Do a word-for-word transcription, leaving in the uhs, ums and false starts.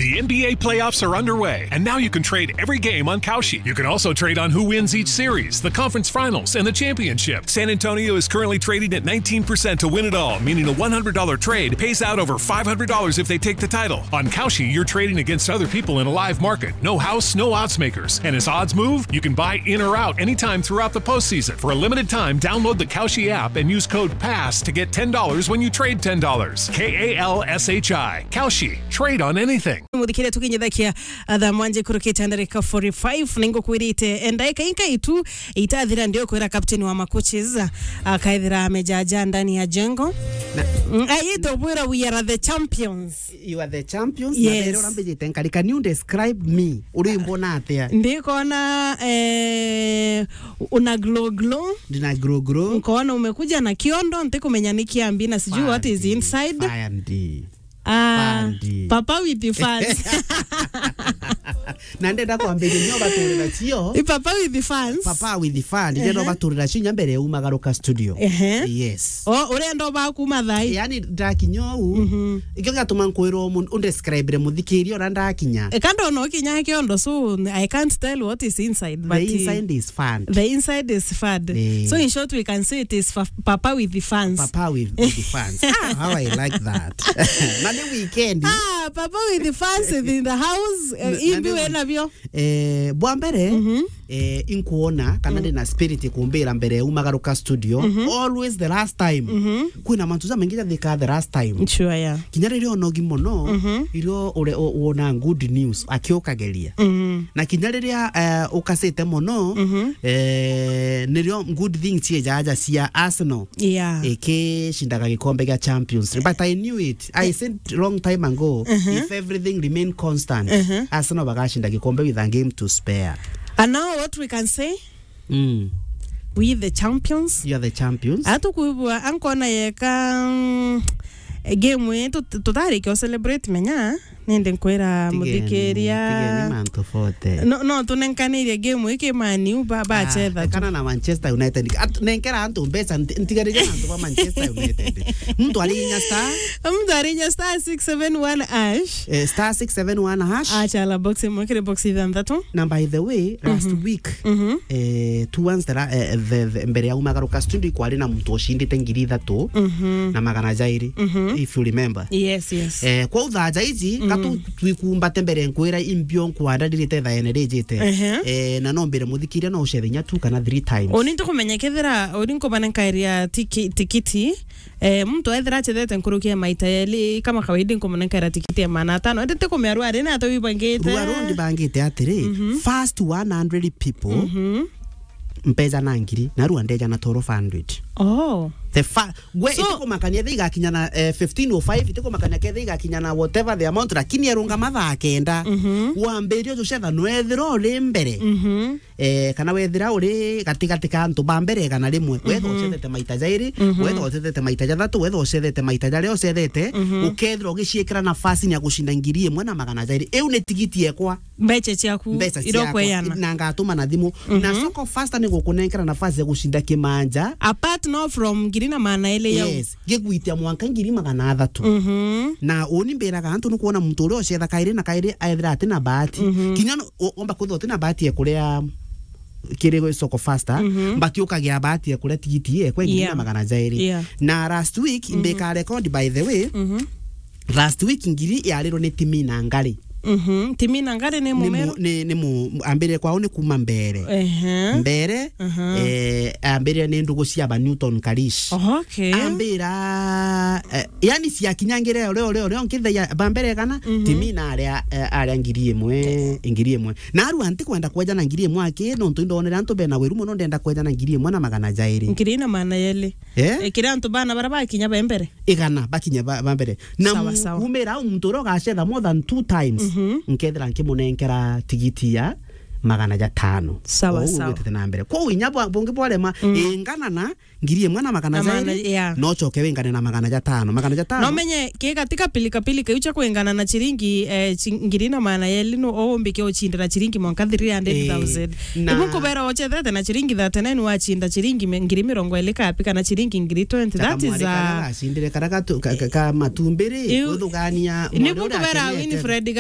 The N B A playoffs are underway, and now you can trade every game on Kalshi. You can also trade on who wins each series, the conference finals, and the championship. San Antonio is currently trading at nineteen percent to win it all, meaning a one hundred dollar trade pays out over five hundred dollars if they take the title. On Kalshi, you're trading against other people in a live market. No house, no odds makers. And as odds move, you can buy in or out anytime throughout the postseason. For a limited time, download the Kalshi app and use code pass to get ten dollars when you trade ten dollars. K A L S H I. Kalshi. Trade on anything. Muthikire tukinyithakia, ah, thaa mwanja ikurukite ndarika forty-five, ningukwirite, eh, ndaika inka itu itathira ndio kwira captain wa macoaches, ah, akaithira amejaja ndani ya jengo. Na Mm, ayito bwira, "We are the champions." You are the champions. Yes. Na rero urambijite nkari, can you describe me? Uri mbona atia? Ndikona, eh, una glow glow. Ndina glow glow. Nkaona umekuja na kiondo, ntikumenya ni kiambi na sijui what is Fandi, inside. Fandi. Ah, Fandi. Papa with the fans. Na ndenda kwambiria nyo baturira cio. I Papa with the fans. Papa with the fans. Ndenda Ehe. baturira cio nya mbere umagaruka studio. Ehe. Yes. O, urenda uba kuma thai. Yani ndakinya uu, Mhm. ikio giatuma nkwirwo mu-, undescribire muthikiria uria ndakinya. E, kando no kinya kiondo, so I can't tell what is inside, but The inside is fun. The inside is fun. Eh. So in short, we can say it is fa-, Papa with the fans. Papa with, with the fans. Ah, how I like that. Na ni weekend. Ah, Papa with the fans in the house. Eh, Na, na imbi ni we nabio. Eh, bwa mbere, Mhm. eh, inkuona kana Mm. ndina spirit kumbira mbere umagaruka studio. Mhm. Always the last time. Mhm. Kwina mantu jamaingi jathika the last time. Sure, yeah. Kinya riria onogi mono, Mhm. irio ure-, o-, wona good news, akiukageria. Mhm. Na kinya riria, eh, ukasite mono, Mhm. eh, nirio good thing ciejaja cia Arsenal. Yeah. Ikicindaga gikombe gia Champions League. But I knew it. I said long time ago, Mhm. if everything remain constant, Mhm. Arsenal bagacinda gikombe with a game to spare. And now what we can say? Mm. We the champions. You are the champions. Atukwibua ankona yeka, mm, game ii tut-, tutarikia celebrate menya. Nindi nkwira Tigeni, muthikiria. tigeni mantu forte. No, no tunenkanirie game ii ki Man U ba, ba Ah, chetha tu. Kana na Manchester United. At-, nenkera antu mbeca, nti-, ntigarire antu ba Manchester United. Muntu ari inya star? Muntu ari inya star six seven one hash. Eh, star six seven one hash. Achala box imwe kiri box ithanthatu. Na by the way, last Mhm. week, Mhm. eh, towards the la-, eh, the, the, mbere ya umagaruka studio, ikwari na muntu ucindite ngiri ithatu Mhm. na magana jairi, Mhm. if you remember. Yes, yes. Eh, kwa uthaja iji, Mhm. katu twikumbate mbere nkwira imbio nkwanda ndirite thaene rijite. Ehe. Eh, na no mbire muthikiria no ucethe inya two kana three times. Uni ntikumenya kethira, uni nkubana nkairia tiki-, tikiti, eh, muntu ethira achethete nkuruki ya maita yeli, kama kawaida nkumunenkaira tikiti ya magana atano. Indi tikumenya rua ri na ata wibangite. Rua ru ndibangite atiri, Mhm. first one hundred people, Mhm. mpeja na ngiri, na rua ndeja na twelve hundred. Oh. The fa-, gwe So itikumakania ethe igakinya na, eh, fifteen oh five, itikumakania kethe igakinya na whatever the amount, lakini erungama thaa kenda. Mhm. Wambiria ucetha nwethira uri mbere. Mhm. Eh, kana wethira uri gatigati ka antu ba mbere igana rimwe, wetha Mhm. ucethete maita jairi, Mhm. wetha ucethete maita jathatu, wetha ucethete maita jaria ucethete, Mhm. ukethira ugiciikira nafasi ya gucinda ngiri imwe na magana jairi. Iu ni tigiti ekwa. Mbeca ciaku Mbeca iria ciakwa, ukweana. Na ngatuma na thimu. Na Mhm. Soko Fasta ni gukunenkera nafasi ya gucinda kimanja. Apart no from ngiri na magana eri yau. Yes, gigwitia mwanka ngiri magana athatu. Mhm. Na uni mbiraga antu ni kuona muntu uria ucetha kairi na kairi ethira ati na bahati. Mhm. Kinya no-, o-, omba kwithirwa uti na bahati ya kuria kiri Soko Fasta, Mhm. but ukagia bahati ya kuria tigiti ye kwa ngiri Yeah. na magana jairi. Yeah. Na last week, Mhm. mbika record, by the way, Mhm. last week ngiri yarirwo ni Timi na Ngari. Mhm. Timi na Ngari ni Ni mu-, mumeru? ni, ni mu-, ambirire kwao ni kuma Mbere. Ehe. Mbere, Aha. eh, ambirire ni ndugu cia ba Newton Karish. Okay. Ambira, eh, yani ciakinyangire ore, ore, ore, nkithia ba Mbere kana, Mhm. Timi na aria, eh, aria ngiri imwe, ngiri imwe. Na aru anti kwenda kweja na ngiri imwe aki, nontu indonere antu bena wiru mono, ndenda kweja na ngiri imwe na magana jairi. Ngiri na magana yeli. Eh? Eh, kiri antu bana bara bakinya ba mbere. Igana, bakinya ba, ba mbere. Na Sawa, mu-, sawa. Kumira au muntu uria ugacetha more than two times, Mhm. nkethira nkimunenkera tigiti ya magana jatano. Sawa, Ou sawa. Ugwitite na mbere. Kwou inya bwa-, bungi bwarema, Mm. ingana na ngiri imwe na magana Na magana, jairi, yeah. No coke wingane na magana jatano. Magana jatano. No menye, ki katika pilika pilika, iu cia kwingana na chiringi, eh, chi-, ngiri na magana yeli, no o umbike uchindira chiringi mwanka three hundred thousand. Eh, na Ibu nkubera ochethete na chiringi thirty-nine wachinda chiringi mi-, ngiri mirongo eri kapi kana chiringi ngiri twenty. Taka That is mwari karia a gacindire karia gatu-, ka, ka, ka matumbiri, Iu-, kuthugania ni mwari uria buku bera akenete. Winfred